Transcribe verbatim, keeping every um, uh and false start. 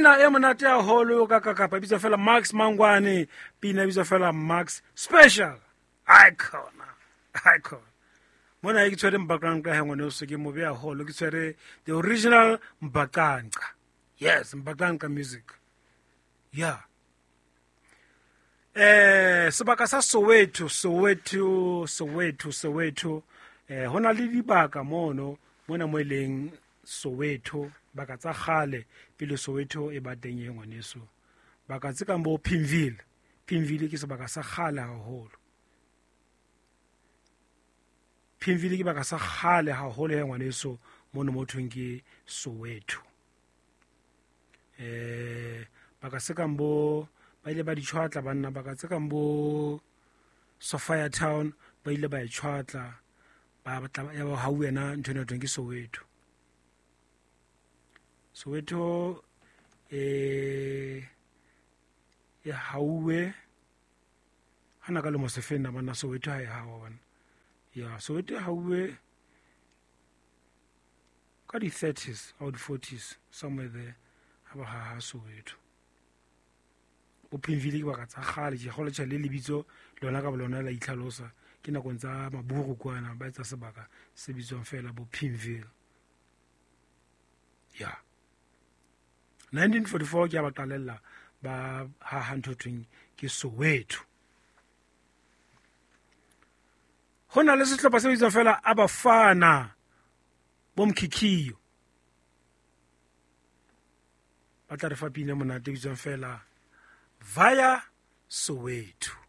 Pina e monate haholo ka kakapa, e bitswa fela Max Mangwane. Pina e bitswa fela Max Special. Icon, icon. Mona ke tshwere Mbaqanqa he ngwaneso, ke mobe haholo, ke tshwere the original Mbaqanqa. Yes, Mbaqanqa music. Yeah. Eh, sebaka sa Soweto, Soweto, Soweto, Soweto. Eh, hona le dibaka mono, mona mo e leng Soweto, baka tsa kgale pele Soweto e ba teng e ngwaneso. Baka tse kang bo Pimville. Pimville ke sebaka sa kgale haholo. Pimville ke baka sa kgale haholo he ngwaneso, mono mo thweng ke Soweto. Eh, baka se kang bo ba ile ba di tshwatla banna, baka tse kang bo Sophia Town ba ile ba e tshwatla, ba batla ya ba hau yena ntho ena thweng ke Soweto. Soweto e e hauwe hana ka lemo se feng na banna, Soweto ha e hawa bana. Ya Soweto e hauwe ka di thirties or di forties somewhere there, ha ba haha Soweto. Bo Pimville ke baka tsa kgale, ke kgolwa tjhe le lebitso lona ka bolona la itlhalosa, ke nakong tsa maburu kwana ba etsa sebaka se bitswang fela bo Pimville. Ya nineteen forty-four ke a ba qalella ba haha ntho thweng ke Soweto. Ho na le sehlopha se bitswang fela Abafana bo Mkhikhiyo, ba tla re fa pina monate e bitswang fela Via Soweto.